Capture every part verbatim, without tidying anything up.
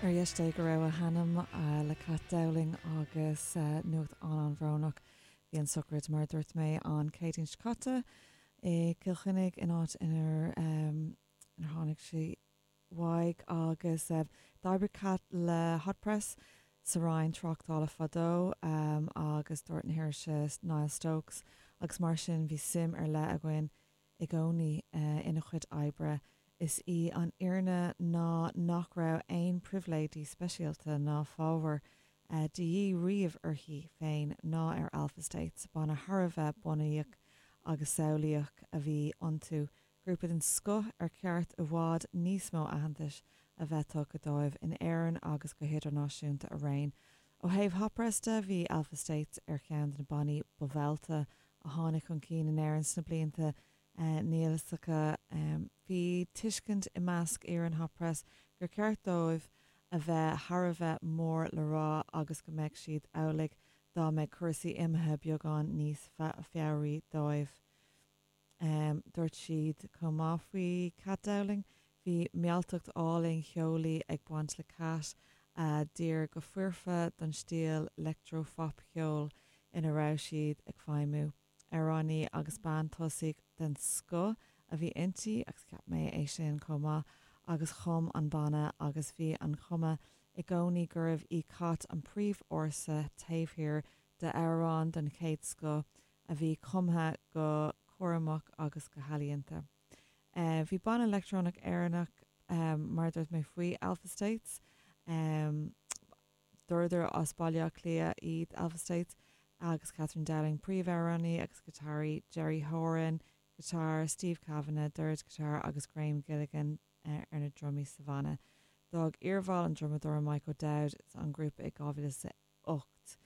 Ar dheis Dé go raibh a hanam le Kat Dowling agus nuacht an-an-bhrónach bhí an sochraid mar dúirt mé an Chéadaoin seo caite i gCill Chainnigh in áit inar inar tháinig sí uaidh agus d'oibrigh Kat le Hot Press sa Roinn Tráchtála fadó um, agus dúirt na hirise Niall Stokes agus mar sin bhí suim ar leith againn i gcónaí uh, ina chuid oibre. Is í an fhírinne ná nach raibh aon pribhléidí speisialta ná fabhar uh, de dhíth riamh uirthi féin ná ar Alpha States banna thar a bheith bunaíoch agus samhlaíoch a bhí iontu, grúpa den scoth ar cheart i bhfad níos mó aitheantais a bheith tugtha dóibh in Éirinn agus go hidirnáisiúnta araon. Ó thaobh Hot Press de bhí Alpha States ar cheann de na bannaí ba mhealltaí a tháinig chun cinn in Éirinn sna blianta uh, nialasacha um, bhí tuiscint i measc fhoireann Hot Press gur ceart dóibh a bheith thar a bheith mór le rá agus go mbeadh siad amhlaidh dá mbeadh cúrsaí imithe beagán níos fearr dóibh. Um, dúirt siad chomh maith faoi Kat Dowling, bhí mealltacht álainn cheolaí ag baint le Kat a d'oir go foirfe don stíl leictreaphopcheoil ina raibh siad ag feidhmiú. Amhránaí agus bean tosaigh den scoth a bhí inti agus cheap mé é sin chomh maith agus chum an banna agus bhí an chuma i gcónaí gurbh í Kat an príomhfhórsa taobh thiar d'amhrán den chéad scoth a bhí cumtha go cúramach agus go healaíonta. Uh, bhí banna leictreonach Éireannach um, mar dúirt mé faoi Alpha States, um, dúradar as Baile Átha Cliath iad Alpha States agus Catherine Dowling príomhamhránaí agus giotáraí Jerry Horan, guitar Steve Kavanagh, dord guitar agus Graham Gilligan uh, ar na drumaí sa bhanna. D'fhág iarbhall an drumadóir Michael Dowd an grúpa i dhá mhíle is ocht.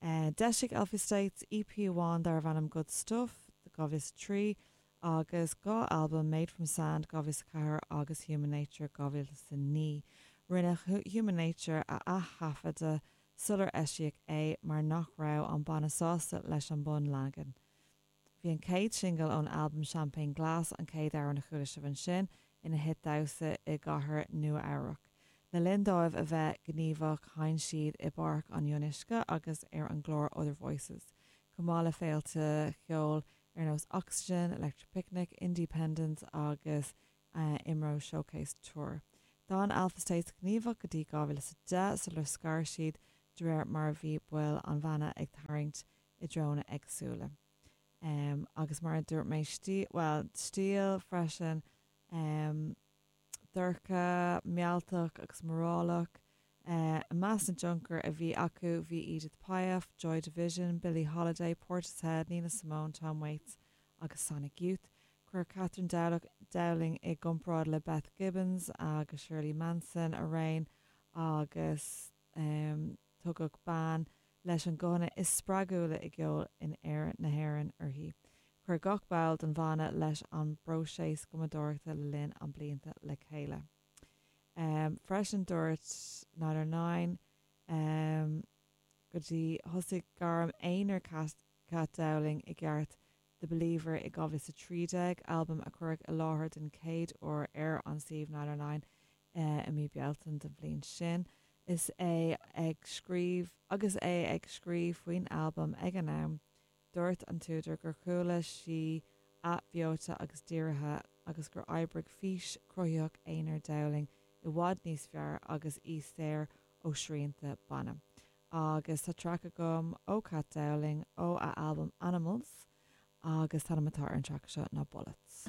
Uh, D'eisigh Alpha States EP amháin darbh ainm Good Stuff, dhá mhíle trí agus dhá albam Made from Sand dhá mhíle ceathair agus Human Nature dhá mhíle naoi. Rinne Human Nature a athaifeadadh sular eisíodh é mar nach raibh an banna sásta leis an bunleagan. Bhí an chéad singil ón albam Champagne Glass an chéad amhrán a chuala sibh ansin ina hit damhsa i gcathair Nua-Eabhrac. Le linn dóibh a bheith gníomhach sheinn siad i bPáirc an Fhionnuisce agus ar an gclár Other Voices. Chomh maith le féilte cheoil ar nós Oxygen, Electric Picnic, Indiependence agus uh, IMRO Showcase Tour. D'fhan Alpha States gníomhach go dtí dhá mhíle is deich sular scar siad de réir mar bhí baill an bhanna ag tarraingt i dtreonna éagsúla. Um, agus mar a dúirt mé stí well stíl freisin um, dorcha mealltach agus morálach uh, meas an tionchar a bhí acu bhí Edith Piaf, Joy Division, Billie Holiday, Portishead, Nina Simone, Tom Waits agus Sonic Youth. Chuir Catherine Dowling i gcomparáid le Beth Gibbons agus Shirley Manson araon agus um, tugadh bean leis an guthanna is spreagúla i gceol in air na hÉireann uirthi. Chuir gach ball den bhanna leis an bpróiseas cumadóireachta le linn an blianta le chéile. Um, freisin dúirt Nine um, go dtí thosaigh gairm aonair Kat Dowling i gceart The Believer i dhá mhíle trí déag albam a cuireadh i láthair den chéad uair ar an suíomh Nine uh, i mí Bealtaine den bhliain sin. Is é ag scríobh agus é ag scríobh faoin albam ag an am, dúirt an t-údar gur chuala sí athbheoite agus dírithe agus gur oibrigh fís chruthaitheach aonair Dowling i bhfad níos fearr agus í saor ó shrianta banna. Agus tá traic agam ó Kat Dowling ó a albam Animals agus an t-ainm atá ar an traic seo ná Bullets.